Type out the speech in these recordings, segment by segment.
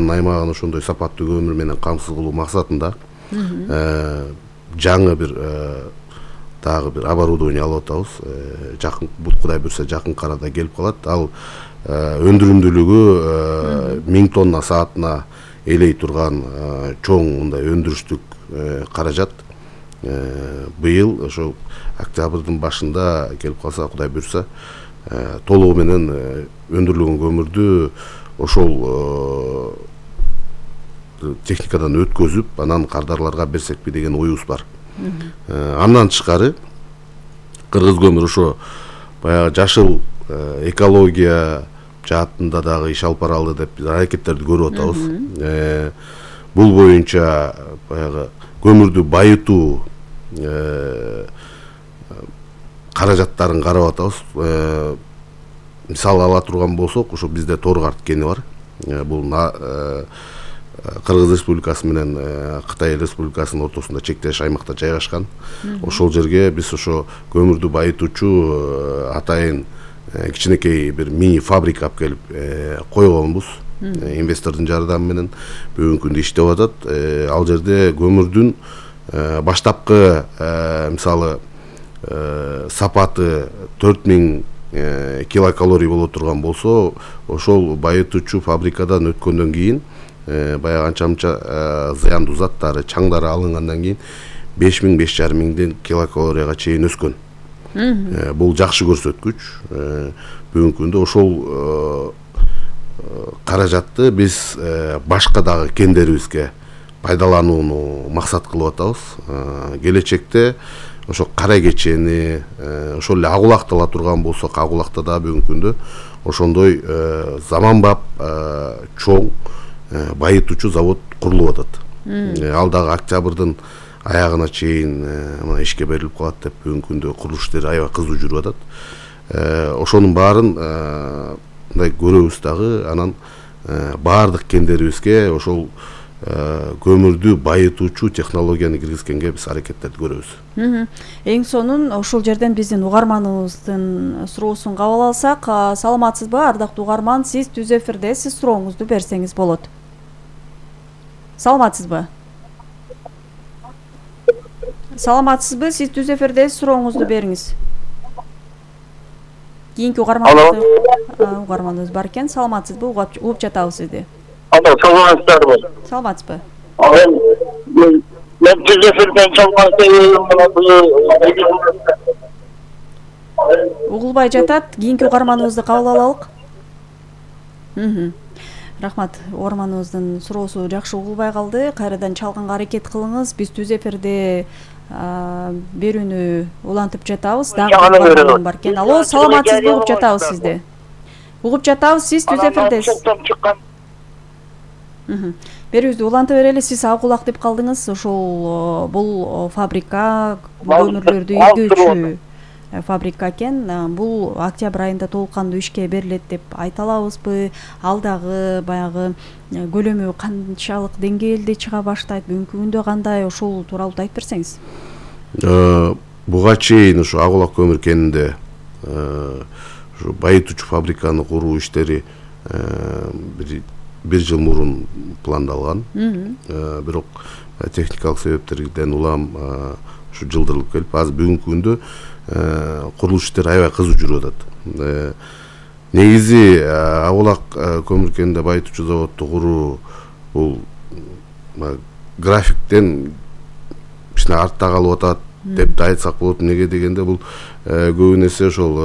Кыргызстандын аймагын ошондой сапаттуу көмүр менен камсыз кылуу максатында жаңы бир дагы бир оборудование алып атабыз. Жакын Кудай буйрса жакынкы арада келип калат. Ал өндүрүмдүүлүгү 1000 тонна саатына элей турган чоң мындай өндүрүштүк каражат. Быйыл ошол октябрдын башында келип калса, Кудай буйрса, толугу менен өндүрүлгөн көмүрдү ошол техникадан өткөзүп, анан кардарларга берсекпи деген оюбуз бар. Андан тышкары кыргыз көмүр ошо баягы жашыл экология жаатында дагы иш алып баралы деп аракеттерди көрүп атабыз. Бул боюнча баягы көмүрдү байытуу каражаттарын карап атабыз. Мисал ала турган болсок, ошо бизде Торгарт кени бар. Бул Кыргыз Республикасы менен Кытай Республикасынын ортосунда чектеш аймакта жайгашкан. Ошол жерге биз ошо көмүрдү байытуучу атайын кичинекей бир мини фабрика алып келип койгонбуз. Инвестордун жардамы менен бүгүнкү күндө иштеп атат. Ал жерде көмүрдүн баштапкы мисалы сапаты 4000 килокалорий боло турган болсо, ошол байытуучу фабрикадан өткөндөн кийин баягы анча-мынча зыяндуу заттары, чаңдары алынгандан кийин 5000-5500 килокалорияга чейин өскөн. Бул жакшы көрсөткүч. Бүгүнкү күндө ошол каражатты биз башка дагы кендерибизге пайдаланууну максат кылып атабыз. Келечекте ошо кара кечени, ошол эле Агулакта ала турган болсок, Агулакта да бүгүнкү күндө ошондой заманбап чоң байытуучу завод курулуп атат. Ал дагы октябрдын аягына чейин мына ишке берилип калат деп бүгүнкү күндө курулуш иштери аябай кызуу жүрүп атат. Ошонун баарын мындай көрөбүз дагы, анан баардык кендерибизге ошол көмүрдү байытуучу технологияны киргизгенге биз аракеттерди көрөбүз. Эң сонун ошол жерден биздин угарманыбыздын суроосун кабыл алсак, саламатсызбы ардактуу угарман, сиз түз эфирде, сиз сурооңузду берсеңиз болот. Саламатсызбы? Саламатсызбы, сиз түз эфирде, сурооңузду бериңиз. Кийинки угарманыбыз бар экен. Саламатсызбы, угуп жатабыз сизди. Саламатсызбы. Саламатсызбы. Мен түз эфирден угулбай жатат. Кийинки угарманыбызды кабыл алалык. Рахмат, угарманыбыздын суроосу жакшы угулбай калды. Кайрадан чалганга аракет кылыңыз. Биз түз эфирде берүүнү улантып жатабыз. Дагы бар экен. Алло, саламатсызбы, угуп жатабыз сизди. Угуп жатабыз, сиз түз эфирдесиз. Берүүбүздү уланта берели. Сиз Агулак деп калдыңыз. Ошол бул фабрика көмүрлөрдү ийгүүчү фабрика экен. Бул октябрь айында толук кандуу ишке берилет деп айта алабызбы? Ал дагы баягы көлөмү канчалык деңгээлде чыга баштайт? Бүгүнкү күндө кандай? Ошол тууралуу да айтып берсеңиз. Буга чейин ушу Агулак көмүр кенинде ушу байытуучу фабриканы куруу иштери бир жыл мурун пландалган. Бирок техникалык себептерден улам ушу жылдырылып келип, азыр бүгүнкү күндө курулуш иштери аябай кызуу жүрүп атат. Негизи Агулак көмүр кенинде байытуучу заводду куруу бул графиктен кичине артта калып атат деп да айтсак болот. Неге дегенде бул көбүн эсе ошол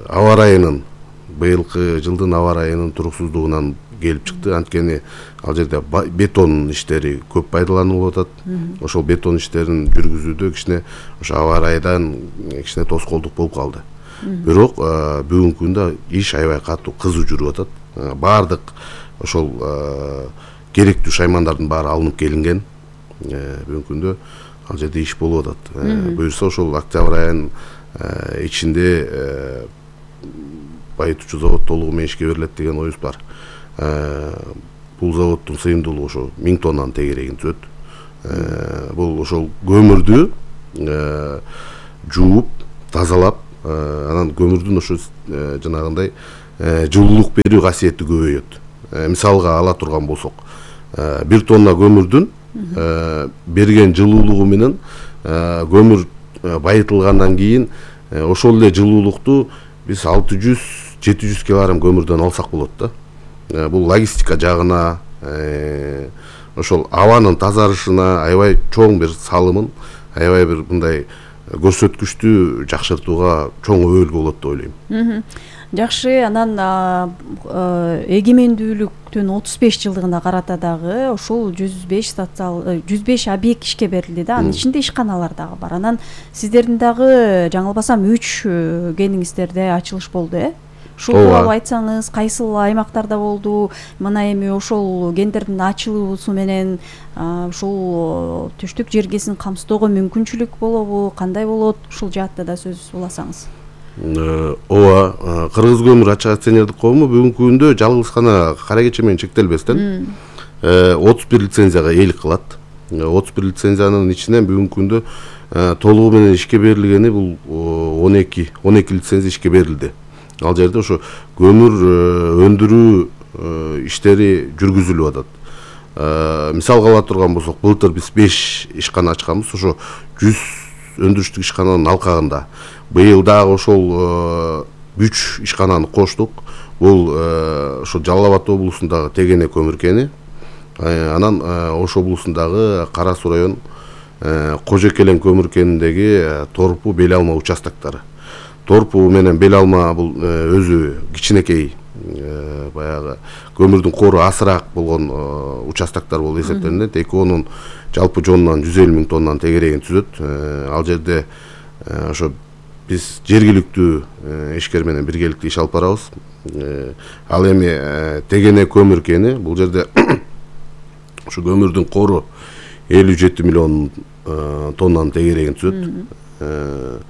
аба ырайынын, быйылкы жылдын аба ырайынын туруксуздугунан келип чыкты. Анткени ал жерде бетон иштери көп пайдаланылып атат. Ошол бетон иштерин жүргүзүүдө кичине ошо аба ырайдан кичине тоскоолдук болуп калды. Бирок бүгүнкү күндө иш аябай катуу кызуу жүрүп атат. Баардык ошол керектүү шаймандардын баары алынып келинген. Бүгүнкү күндө ал жерде иш болуп атат. Буюрса ошол октябрь айынын ичинде байытуучу завод толугу менен ишке берилет деген оюбуз бар. Бул заводдун сыйымдуулугу ошо 1000 тоннанын тегерегин түзөт. Бул ошол көмүрдү жууп, тазалап, анан көмүрдүн ошо жанагындай жылуулук берүү касиети көбөйөт. Мисалга ала турган болсок, 1 тонна көмүрдүн берген жылуулугу менен көмүр байытылгандан кийин ошол эле жылуулукту биз 600-700 килограмм көмүрдөн алсак болот да. Бул логистика жагына, ошол абанын тазарышына аябай чоң бир салымын, аябай бир мындай көрсөткүчтү жакшыртууга чоң өбөлгө болот деп ойлойм. Жакшы, анан эгемендүүлүктүн 35 жылдыгына карата дагы ошол 105 объект ишке берилди да. Анын ичинде ишканалар дагы бар. Анан сиздердин дагы жаңылбасам 3 кениңиздерде ачылыш болду, Ушул тууралуу айтсаңыз, кайсыл аймактарда болду? Мына эми ошол кендердин ачылуусу менен ушул түштүк жергесин камсыздоого мүмкүнчүлүк болобу, кандай болот? Ушул жаатта да сөз уласаңыз. Ооба, Кыргыз көмүр ачык акционердик коому бүгүнкү күндө жалгыз гана кара кече менен чектелбестен 31 лицензияга ээлик кылат. 31 лицензиянын ичинен бүгүнкү күндө толугу менен ишке берилгени бул 12 лицензия ишке берилди. Ал жерде ошо көмүр өндүрүү иштери жүргүзүлүп атат. Мисалга ала турган болсок, былтыр биз 5 ишкана ачканбыз, ошо 100 өндүрүштүк ишкананын алкагында. Быйыл дагы ошол 3 ишкананы коштук. Бул ошо Жалал Абад облусундагы Тегене көмүр кени, анан Ош облусундагы Кара Суу район Кожокелен көмүр кениндеги Торпу Бел Алма участоктары. Торпу менен Бел Алма бул өзү кичинекей, баягы көмүрдүн кору асыраак болгон участоктор болуп эсептелинет. Экөөнүн жалпы жонунан 150 000 тоннанын тегерегин түзөт. Ал жерде ошо биз жергиликтүү ишкер менен биргеликте иш алып барабыз. Ал эми Тегене көмүр кени, бул жерде ушу көмүрдүн кору 57 миллион тоннанын тегерегин түзөт.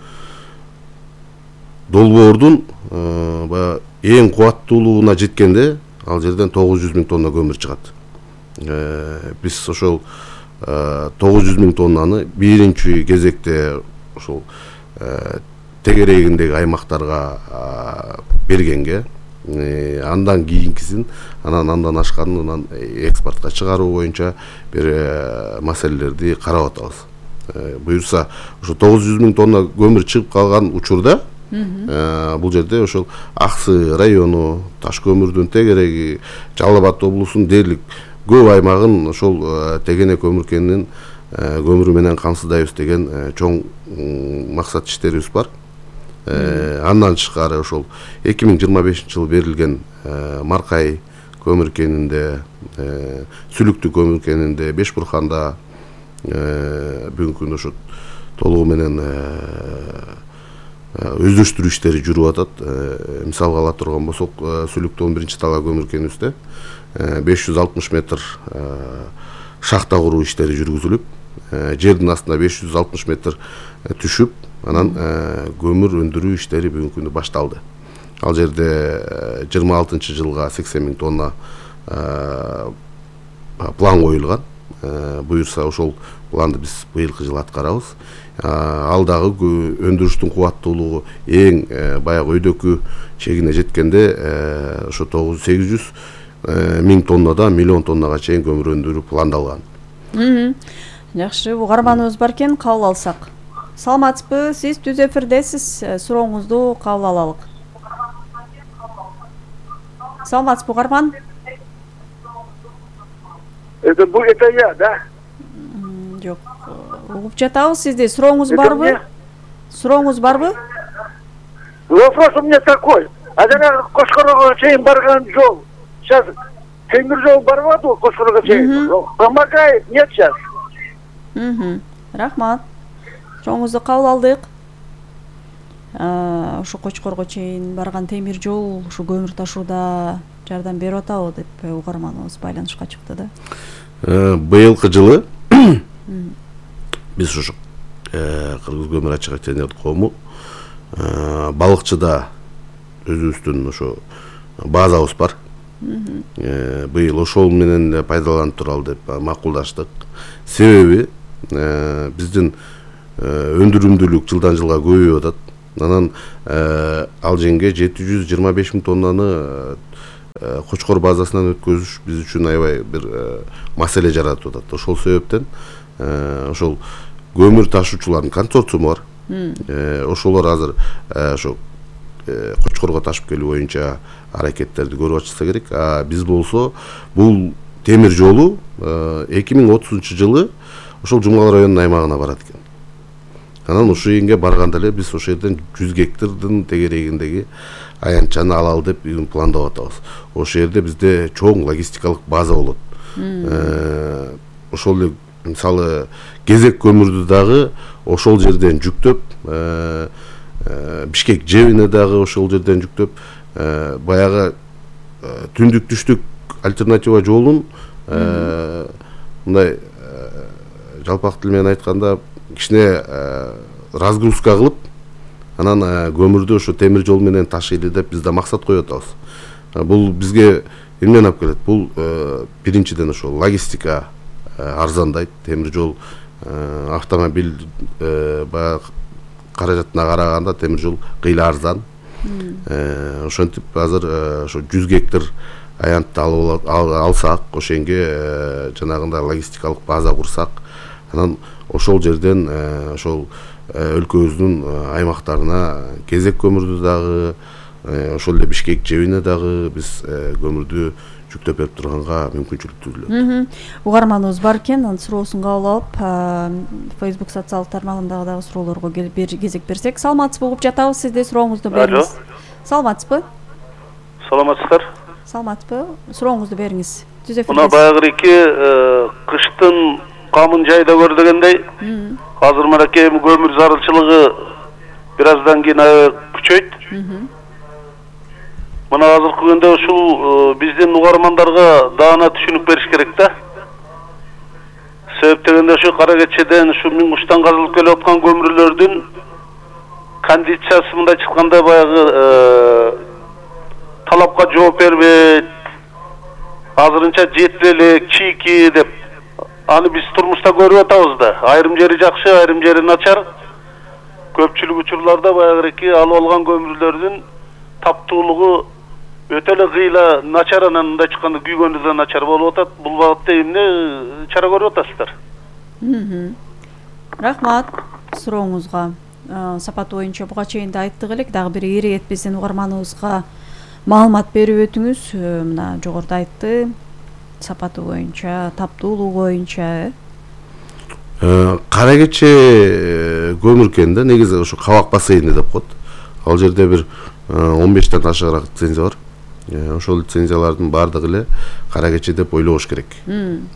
Долбоордун эң кубаттуулугуна жеткенде ал жерден 900 000 тонна көмүр чыгат. Биз ошол 900 000 тоннаны биринчи кезекте ошол тегерегиндеги аймактарга бергенге, андан кийинкисин, андан ашканын экспортко чыгаруу боюнча бир маселелерди карап атабыз. Буюрса, ошо 900 000 тонна көмүр чыгып калган учурда бул жерде ошол Аксы району, Таш көмүрдүн тегереги, Жалал Абад облусунун дээрлик көп аймагын ошол Тегене көмүр кенинин көмүрү менен камсыздайбыз деген чоң максат иштерибиз бар. Андан тышкары ошол 2025-жылы берилген Маркай көмүр кенинде, Сүлүктүү көмүр кенинде, Бешбурканда бүгүнкү күндө ошо толугу менен өздөштүрүү иштери жүрүп атат. Мисалга ала турган болсок, Сүлүктүү 11-талаа көмүр кенибизде 560 метр шахта куруу иштери жүргүзүлүп, жердин астына 560 метр түшүп, анан көмүр өндүрүү иштери бүгүнкү күндө башталды. Ал жерде 26-жылга 80 000 тонна план коюлган. Буюрса, ошол планды биз быйылкы жылы аткарабыз. Ал дагы өндүрүштүн кубаттуулугу эң баягы өйдөкү чегине жеткенде ошо 800 000 тоннадан миллион тоннага чейин көмүр өндүрүү пландалган. Жакшы, угарманыбыз бар экен, кабыл алсак. Саламатсызбы? Сиз түз эфирдесиз. Сурооңузду кабыл алалык. Саламатсызбы, угарман? Это я, да? Жок. Угуп жатабыз сизди. Сурооңуз барбы? Сурооңуз барбы? Вопрос у меня такой. А жана Кошкорого чейин барган жол. Сейчас темир жол барып атабы Кошкорого чейин? Помогает, нет сейчас? Рахмат. Чоңуңузду кабыл алдык. Ошо Кочкорго чейин барган темир жол ушу көмүр ташууда жардам берип атабы деп угарманыбыз байланышка чыкты да. Быйылкы жылы биз ушу Кыргыз көмүр ачык акционердик коому балыкчыда өзүбүздүн ошо базабыз бар. Быйыл ошол менен пайдаланып туралы деп макулдаштык. Себеби биздин өндүрүмдүүлүк жылдан жылга көбөйүп атат. Анан ал жерге 725 000 тоннаны Кочкор базасынан өткөзүш биз үчүн аябай бир маселе жаратып атат. Ошол себептен ошол көмүр ташуучулардын консорциуму бар. Ошолор азыр ошо Кочкорго ташып келүү боюнча аракеттерди көрүп атышса керек. Биз болсо бул темир жолу 2030-жылы ошол Жумгал районунун аймагына барат экен. Анан ушул жерге барганда эле биз ошол жерден 100 гектардын тегерегиндеги аянтчаны алалы деп пландап атабыз. Ошол жерде бизде чоң логистикалык база болот. Ошол эле мисалы кезек көмүрдү дагы ошол жерден жүктөп, Бишкек жебине дагы ошол жерден жүктөп, баягы түндүк түштүк альтернатива жолун мындай жалпак тил менен айтканда кичине разгрузка кылып, анан көмүрдү ошо темир жол менен ташыйлы деп биз да максат коюп атабыз. Бул бизге эмнени алып келет? Бул биринчиден ошо логистика арзандайт, темир жол автомобиль баягы каражатына караганда темир жол кыйла арзан. Ошентип азыр ошо 100 гектар аянтты алсак, ошенге жанагындай логистикалык база курсак, анан ошол жерден ошол өлкөбүздүн аймактарына кезек көмүрдү дагы, ошол эле Бишкек жебине дагы биз көмүрдү жүктөп берип турганга мүмкүнчүлүк түзүлөт. Угарманыбыз бар экен, анын суроосун кабыл алып, Facebook социалдык тармагындагы дагы суроолорго кезек берсек. Саламатсызбы, угуп жатабыз, сизде сурооңузду бериңиз. Саламатсызбы? Саламатсыздар. Саламатсызбы? Сурооңузду бериңиз. Мына баягы кыштын камын жайда көр дегендей, азыр мынакей көмүр зарылчылыгы бир аздан кийин күчөйт. Мына азыркы күндө ушул биздин угармандарга даана түшүнүк бериш керек да. Себеп дегенде ушу Кара Кечеден ушу Миң Куштан казылып келип аткан көмүрлөрдүн кондициясы мындай чыкканда баягы талапка жооп бербейт. Азырынча жетип элек, чийки деп аны биз турмушта көрүп атабыз да. Айрым жери жакшы, айрым жери начар. Көпчүлүк учурларда баягы алып алган көмүрлөрдүн таптуулугу өтө эле кыйла начар, анан мындай чыкканда күйгөнү да начар болуп атат. Бул багытта эмне чара көрүп атасыздар? Рахмат сурооңузга. Сапат боюнча буга чейин да айттык элек, дагы бир ири биздин угарманыбызга маалымат берип өтүңүз. Мына жогоруда айтты, сапаты боюнча, таптуулугу боюнча. Кара Кече көмүркенде негизи ошо Кабак бассейни деп коет. Ал жерде бир 15тен ашыгыраак лицензия бар. Ошол лицензиялардын баардыгы эле Кара Кече деп ойлобош керек.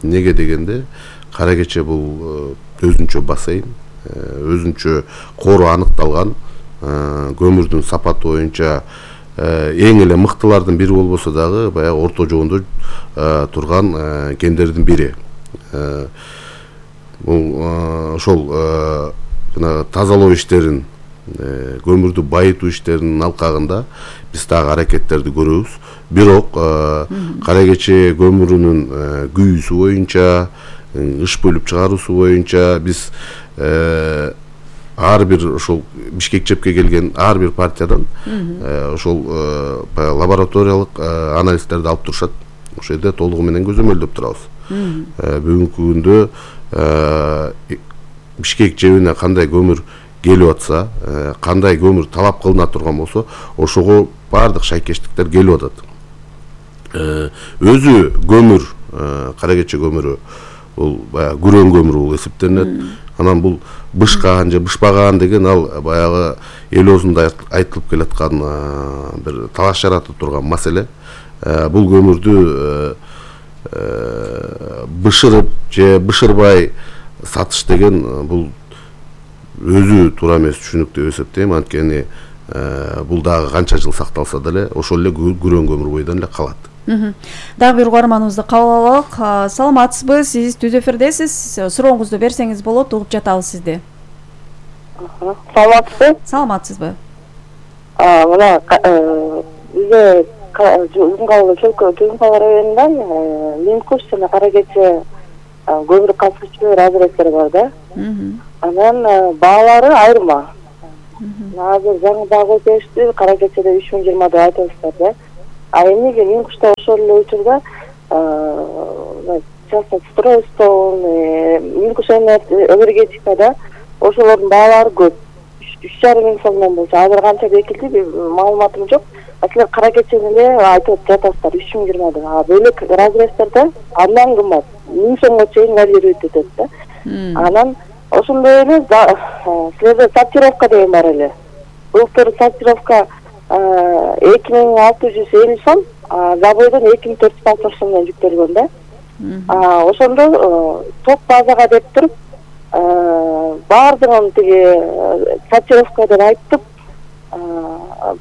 Неге дегенде, Кара Кече бул өзүнчө бассейн, өзүнчө кору аныкталган, көмүрдүн сапаты боюнча эң эле мыктылардын бири болбосо дагы баягы орто жоондо турган кендердин бири. Бул ошол жана тазалоо иштерин, көмүрдү байытуу иштеринин алкагында биз дагы аракеттерди көрөбүз. Бирок Кара Кече көмүрүнүн күйүүсү боюнча, ыш бөлүп чыгаруусу боюнча биз ар бир ошол Бишкек жепке келген ар бир партиядан ошол лабораториялык анализдерди алып турушат. Ошол жерде толугу менен көзөмөлдөп турабыз. Бүгүнкү күндө Бишкек жебине кандай көмүр келип атса, кандай көмүр талап кылына турган болсо, ошого баардык шайкештиктер келип атат. Өзү көмүр, Кара Кече көмүрү бул баягы күрөң көмүр болуп эсептелинет. Анан бул бышкан же бышпаган деген ал баягы эл оозунда айтылып келаткан бир талаш жаратып турган маселе. Бул көмүрдү бышырып же бышырбай сатыш деген бул өзү туура эмес түшүнүк деп эсептейм. Анткени бул дагы канча жыл сакталса деле ошол эле күрөң көмүр бойдон эле калат. Дагы бир угарманыбызды кабыл алалык. Саламатсызбы? Сиз түз эфирдесиз. Сурооңузду берсеңиз болот, угуп жатабыз сизди. Саламатсызбы? Саламатсызбы? Мына бизде Жумгал районунан Миң Куш жана Кара Кече көмүр касыгычылар азыраактар бар да. Анан баалары айырма. Азыр жаңы дагы өтөштү, кара кечеде 3020 деп айтасыздар да. А эмнеге мен кушта ошол эле учурда частный стройстон, энергетикада ошолордун баалары көп. 3,5 миң сомдон болчу. Азыр канча бекилди, маалыматым жок. Силер кара кечени эле айтып жатасыздар 3020 деп. А бөлөк разрезтерде андан кымбат 1000 сомго чейин варьирует этет да. Анан ошондой эле силерде сортировка деген бар эле. Былтыр сортировка 2650 сом, заводдон 2460 сомдон жүктөлгөн да. Ошондо топ базага деп туруп баардыгын тиги сортировка деп айтып,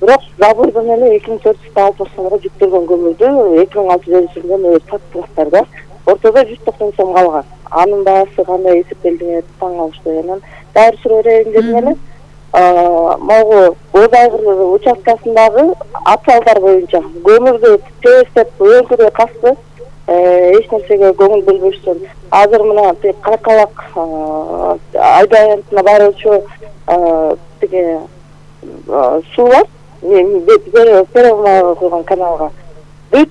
бирок заводдон эле 2460 сомго жүктөлгөн көмүрдү 2650 сомдон саттыңыздар да. Ортодо 190 сом калган. Анын баасы кандай эсептелди таң калыштуу. Анан дайыр сурөөрөйүн дедим эле. Могу Боз Айгыр участкасындагы аталдар боюнча көмүрдү тестеп өлкөдө касты, эч нерсеге көңүл бөлбөштөн. Азыр мына Каракалак айдаянтына баруучу тиги суу бар. Перевма койгон каналга. Бүт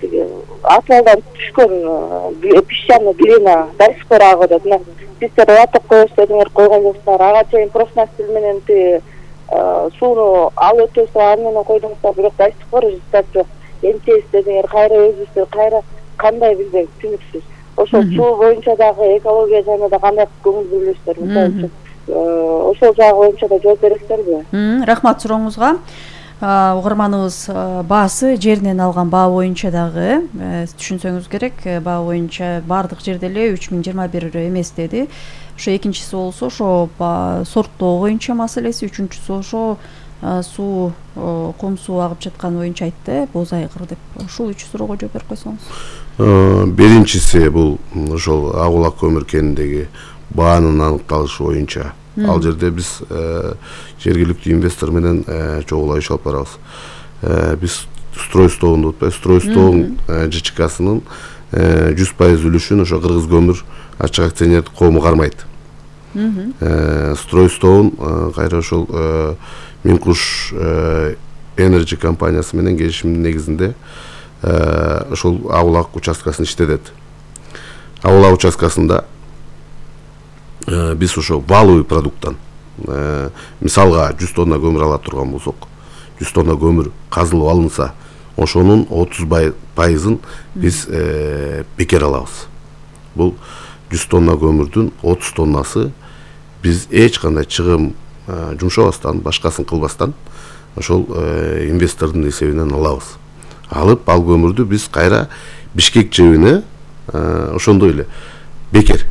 тиги аталдан түшкөн песчаный глина до сих пор агып атат. Сиздер атып коесуз дедиңер, койгон жоксуңар. Ага чейин профнастил менен сууну алып өтөсүз, аны менен койдуңуздар, бирок до сих пор результат жок. Эмчейсиз дедиңер, кайра өзүбүз, кайра кандай билбейм, түшүнүксүз. Ошол суу боюнча дагы экология жайына да кандай көңүл бөлөсүздөр, мисалы үчүн ошол жагы боюнча да жооп бересиздерби? Рахмат сурооңузга. Угарманыбыз баасы жеринен алган баа боюнча дагы түшүнсөңүз керек. Баа боюнча баардык жерде эле 3021 эмес деди. Ошо экинчиси болсо ошо сорттоо боюнча маселеси, үчүнчүсү ошо суу кум суу агып жаткан боюнча айтты, Боз Айгыр деп. Ушул үч суроого жооп берип койсоңуз. Биринчиси бул ошол Агулак көмүр кеніндеги баанын аныкталышы боюнча. Ал жерде биз жергиликтүү инвестор менен чогулай иш алып барабыз. Биз стройстоон деп атпайбы, стройстоон ЖЧКсынын 100% үлүшүн ошо Кыргыз көмүр ачык акционердик коому кармайт. Стройстоон кайра ошол Минкуш Energy компаниясы менен келишимдин негизинде ошол Агулак участкасын иштетет. Агулак участкасында биз ошо валовый продукттан мисалга 100 тонна көмүр ала турган болсок, 100 тонна көмүр казылып алынса, ошонун 30% биз бекер алабыз. Бул 100 тонна көмүрдүн 30 тоннасы биз эч кандай чыгым жумшабастан, башкасын кылбастан ошол инвестордун эсебинен алабыз. Алып ал көмүрдү биз кайра Бишкек жебине ошондой эле бекер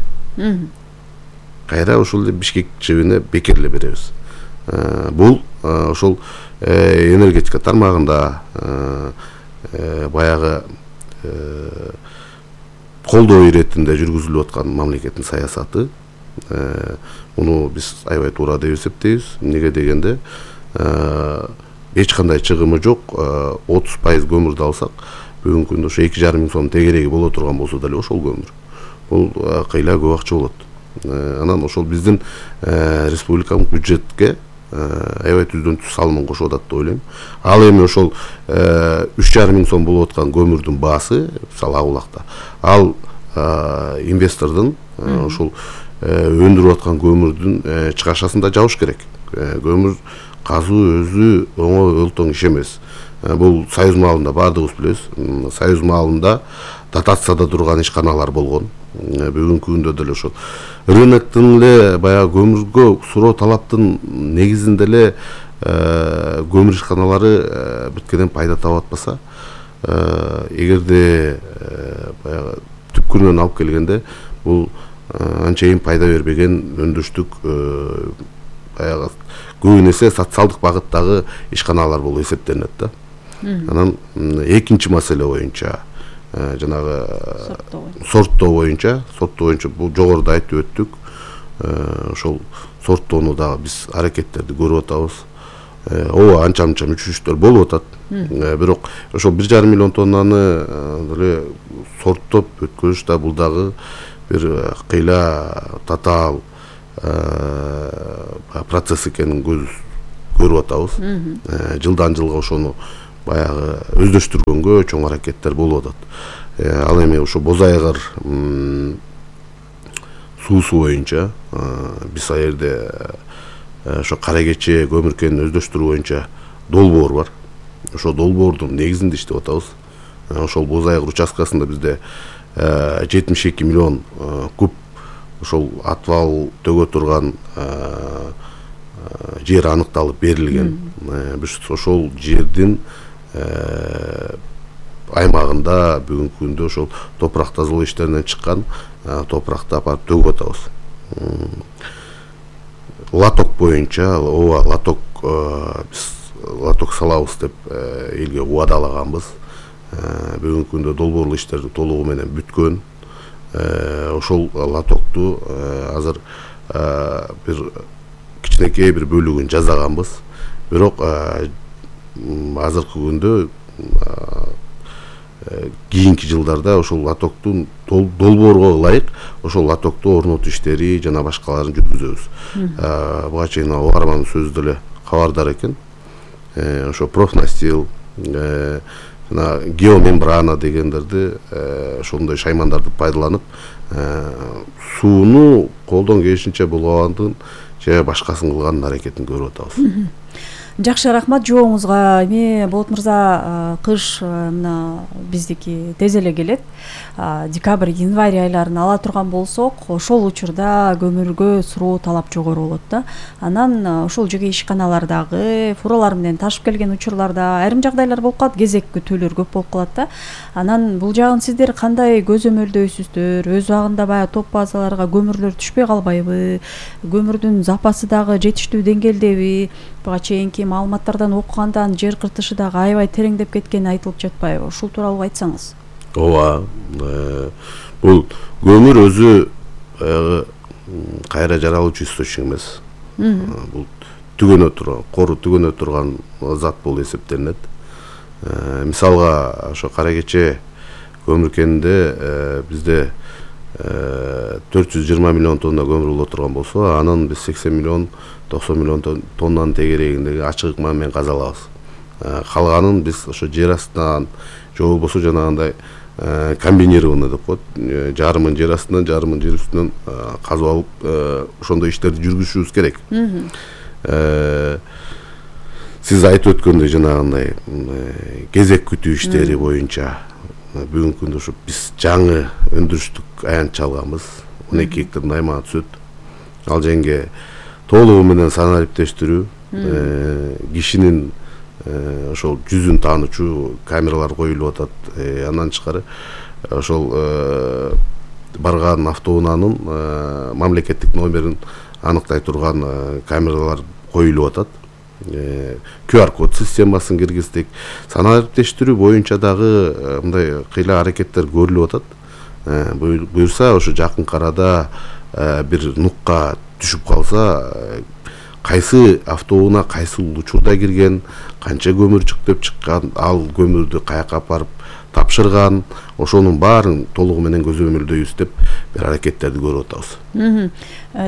кайра ошол эле Бишкек жебине бекер эле беребиз. Бул ошол энергетика тармагында баягы колдоо иретинде жүргүзүлүп аткан мамлекеттин саясаты. Муну биз аябай туура деп эсептейбиз. Эмнеге дегенде эч кандай чыгымы жок 30% көмүрдү алсак, бүгүнкү күндө ошо 2,5 миң сом тегереги боло турган болсо деле ошол көмүр. Бул кыйла көп акча болот. Анан ошол биздин республикалык бюджетке аябай түздөн түз салымын кошуп атат деп ойлойм. Ал эми ошол 3,5 миң сом болуп аткан көмүрдүн баасы, мисалы Агулакта, ал инвестордун ошол өндүрүп аткан көмүрдүн чыгашасында жабыш керек. Көмүр казуу өзү оңой өлтөң иш эмес. Бул Союз маалында баардыгыбыз билебиз. Союз маалында дотацияда турган ишканалар болгон. Бүгүнкү күндө деле ошол рыноктун эле баягы көмүргө суроо талаптын негизинде эле көмүр ишканалары биткенен пайда таап атпаса, эгерде баягы түпкүрүнөн алып келгенде бул анчейин пайда бербеген өндүрүштүк баягы көбүн эсе социалдык багыттагы ишканалар болуп эсептелинет да. Анан экинчи маселе боюнча жанагы сорттоо боюнча бул жогоруда айтып өттүк. Ошол сорттоону дагы биз аракеттерди көрүп атабыз. Ооба анча-мынча мүчүлүштөр болуп атат. Бирок ошол 1,5 миллион тоннаны деле сорттоп өткөрүш да бул дагы бир кыйла татаал процесс экенин көрүп атабыз. Жылдан жылга ошону баягы өздөштүргөнгө чоң аракеттер болуп атат. Ал эми ошо Боз Айгыр суусу боюнча биз ал жерде ошо Кара Кече көмүр кенин өздөштүрүү боюнча долбоор бар. Ошо долбоордун негизинде иштеп атабыз. Ошол Боз Айгыр участкасында бизде 72 миллион куб ошол атыбал төгө турган жер аныкталып берилген. Биз ошол жердин аймагында бүгүнкү күндө ошол топурак тазалоо иштеринен чыккан топуракты апарып төгүп атабыз. Лоток боюнча лоток биз лоток салабыз деп элге убадалаганбыз. Бүгүнкү күндө долбоорлуу иштерди толугу менен бүткөн. Ошол лотокту азыр бир кичинекей бир бөлүгүн жасаганбыз. Бирок азыркы күндө кийинки жылдарда ошол лотоктун долбоорго ылайык ошол лотокту орнотуу иштери жана башкаларын жүргүзөбүз. Буга чейин угармандын сөзү деле кабардар экен. Ошо профнастил, жана геомембрана дегендерди ошондой шаймандарды пайдаланып сууну колдон келишинче булгабандын же башкасын кылган аракетин көрүп атабыз. Жакшы, рахмат жооңузга. Эми Болот мырза, кыш мына биздики тез эле келет. Декабрь, январь айларын ала турган болсок, ошол учурда көмүргө суроо талап жогору болот да. Анан ошол жерге ишканалардагы фуралар менен ташып келген учурларда айрым жагдайлар болуп калат, кезек күтүүлөр көп болуп калат да. Анан бул жагын сиздер кандай көзөмөлдөйсүздөр? Өз убагында баягы топ базаларга көмүрлөр түшпөй калбайбы? Көмүрдүн запасы дагы жетиштүү деңгээлдеби? Буга чейинки маалыматтардан окугандан жер кыртышы дагы аябай тереңдеп кеткени айтылып жатпайбы? Ушул тууралуу айтсаңыз. Ооба, бул көмүр өзү кайра жаралуучу источник эмес. Бул түгөнө турган, кору түгөнө турган зат болуп эсептелинет. Мисалга, ошо Кара Кече көмүр кенинде бизде 420 миллион тонна көмүр боло турган болсо, анын биз 80 миллион 90 миллион тоннанын тегерегиндеги ачык ыкма менен казалабыз. Калганын биз ошо жер астынан же болбосо жанагындай комбинированный деп коет, жарымын жер астынан, жарымын жер үстүнөн казып алып, ошондой иштерди жүргүзүшүбүз керек. Сиз айтып өткөндөй жанагындай кезек күтүү иштери боюнча бүгүнкү күндө ушу биз жаңы өндүрүштүк аянтча алганбыз. 12 гектардан аймага түшөт. Ал жерге толугу менен санариптештирүү, кишинин ошол жүзүн таанычу камералар коюлуп атат. Андан тышкары ошол барган автоунаанын мамлекеттик номерин аныктай турган камералар коюлуп атат. QR код системасын киргиздик. Санариптештирүү боюнча дагы мындай кыйла аракеттер көрүлүп атат. Буюрса ошо жакын арада бир нукка түшүп калса, кайсы автоунаа кайсы учурда кирген, канча көмүр чыктып чыккан, ал көмүрдү каяка апарып тапшырган, ошонун баарын толугу менен көзөмөлдөйбүз деп бир аракеттерди көрүп атабыз.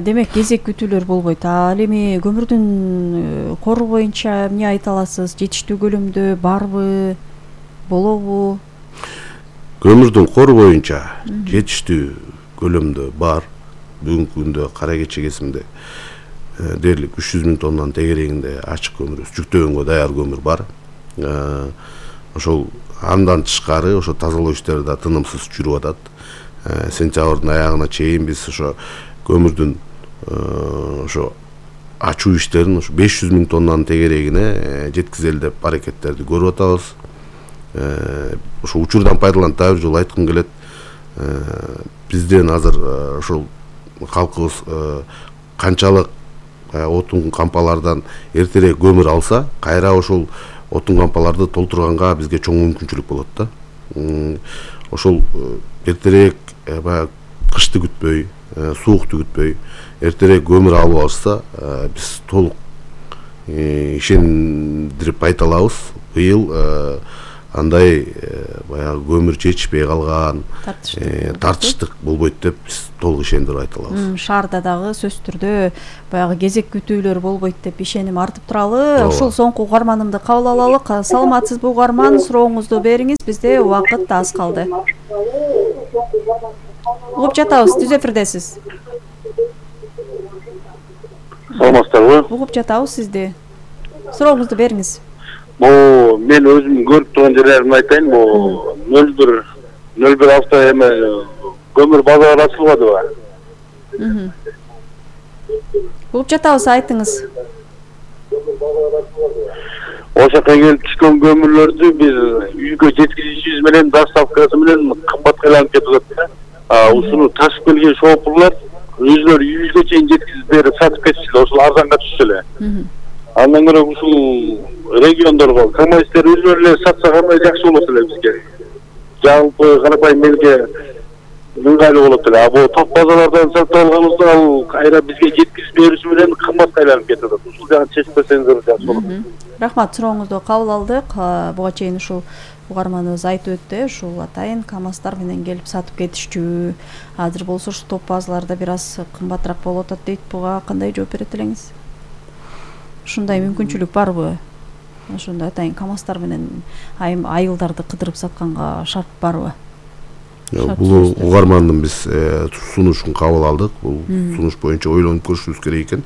Демек, кезек күтүүлөр болбойт. Ал эми көмүрдүн кору боюнча эмне айта аласыз? Жетиштүү көлөмдө барбы, болобу? Көмүрдүн кору боюнча жетиштүү көлөмдө бар. Бүгүнкү күндө Кара Кече кесиминде дээрлик 300 миң тоннанын тегерегинде ачык көмүр, жүктөгөнгө даяр көмүр бар. Ошол андан тышкары ошо тазалоо иштери да тынымсыз жүрүп атат. Сентябрдын аягына чейин биз ошо көмүрдүн ошо ачуу иштерин ошо 500 миң тоннанын тегерегине жеткизели деп аракеттерди көрүп атабыз. Ошо учурдан пайдаланып дагы бир жолу айткым келет. Бизден азыр ошол калкыбыз канчалык отун кампалардан эртерээк көмүр алса, кайра ошол отун кампаларды толтурганга бизге чоң мүмкүнчүлүк болот да. Ошол эртерээк баягы кышты күтпөй, суукту күтпөй, эртерээк көмүр алып алышса, биз толук ишендирип айта алабыз. Быйыл андай баягы көмүр жетишпей калган, тартыштык болбойт деп биз толук ишендирип айта алабыз. Шаарда дагы сөзсүз түрдө баягы кезек күтүүлөр болбойт деп ишеним артып туралы. Ушул соңку угарманымды кабыл алалык. Саламатсызбы угарман, сурооңузду бериңиз, бизде убакыт аз калды. Угуп жатабыз, түз эфирдесиз. Саламатсыздарбы? Угуп жатабыз сизди. Сурооңузду бериңиз. Мен өзүм көрүп турган жерлеримди айтайын. 01 авто эме көмүр базары ачылбадыбы? Угуп жатабыз, айтыңыз. Ошоко келип түшкөн көмүрлөрдү биз үйгө жеткизишибиз менен доставкасы менен кымбатка айланып кетип атат. Ушуну ташып келген шоопурлар өзүлөрү үйүбүзгө чейин жеткизип берип сатып кетишти. Ошол арзанга түшсө эле. Андан көрө ушул региондорго КамАЗдер өзүлөрү эле сатса кандай жакшы болот эле бизге. Жалпы карапайым элге ыңгайлуу болот эле. Бул топ базалардан сатып алганыбызда ал кайра бизге жеткизип бериши менен кымбатка айланып кетип атат. Ушул жагын чечип берсеңиздер жакшы болот. Рахмат, сурооңузду кабыл алдык. Буга чейин ушул угарманыбыз айтып өттү, ушул атайын КамАЗдар менен келип сатып кетишчү. Азыр болсо ушу топ базаларда бир аз кымбатыраак болуп атат дейт. Буга кандай жооп берет элеңиз? Ушундай мүмкүнчүлүк барбы? Ошондой атайын КамАЗдар менен айылдарды кыдырып сатканга шарт барбы? Бул угармандын биз сунушун кабыл алдык. Бул сунуш боюнча ойлонуп көрүшүбүз керек экен.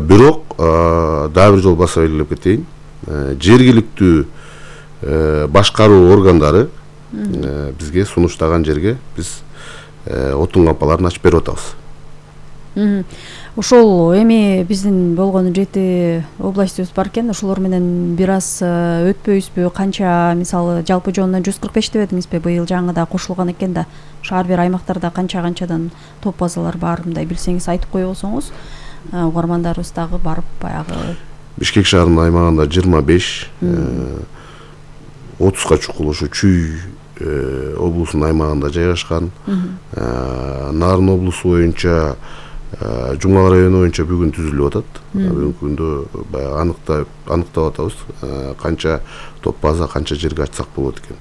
Бирок дагы бир жолу баса белгилеп кетейин. Жергиликтүү башкаруу органдары бизге сунуштаган жерге биз отун кампаларын ачып берип атабыз. Ошол эми биздин болгону 7 областыбыз бар экен. Ошолор менен бир аз өтпөйбүзбү? Канча, мисалы, жалпы жонунан 145 дебедиңизби? Быйыл жаңыда кошулган экен да. Шаар бир аймактарда канчадан топ базалар бар, мындай билсеңиз айтып кое болсоңуз. Угармандарыбыз дагы барып баягы Бишкек шаарынын аймагында 25, 30га чукул ушу Чүй облусунун аймагында жайгашкан. Нарын облусу боюнча Жумгал району боюнча бүгүн түзүлүп атат. Бүгүнкү күндө баягы аныктап атабыз. Канча топ база, канча жерге ачсак болот экен.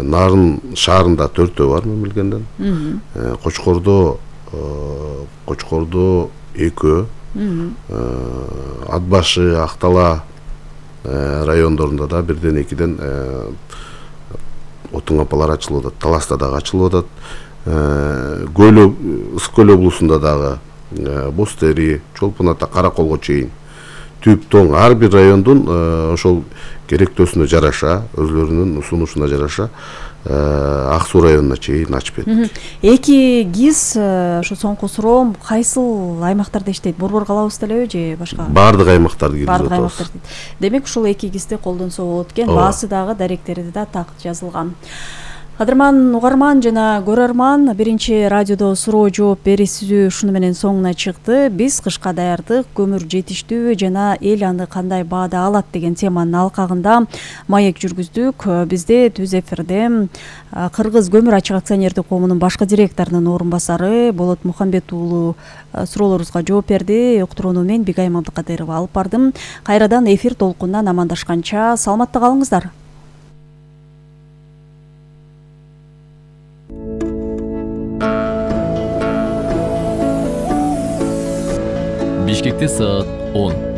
Нарын шаарында 4төө бар мен билгенден. Кочкордо 2, Ат башы, Актала райондорунда да 1-2ден отун кампалар ачылып атат. Таласта дагы ачылып атат. Ысык көл облусунда дагы Бостери, Чолпон ата, Караколго чейин түп тоң ар бир райондун ошол керектөөсүнө жараша, өзлөрүнүн сунушуна жараша Ак суу районуна чейин ачып бердик. 2 ГИС ошо соңку суроом, кайсыл аймактарда иштейт? Борбор калабызда элеби же башка? Бардык аймактарды киргизип атабыз. Демек ушул 2 ГИСти колдонсо болот экен. Баасы дагы, даректерди да так жазылган. Кадырман угарман жана көрөрман, биринчи радиодо суроо жооп берүүсү ушуну менен соңуна чыкты. Биз кышка даярдык, көмүр жетиштүү жана эл аны кандай баада алат деген теманын алкагында маек жүргүздүк. Бизде түз эфирде Кыргыз көмүр ачык акционердик коомунун башкы директорунун орун басары Болот Мухамбет уулу суроолорубузга жооп берди. Уктурууну мен Бигай Мамдыкадырова алып бардым. Кайрадан эфир толкунунан амандашканча саламатта калыңыздар. Бишкекте саат 10.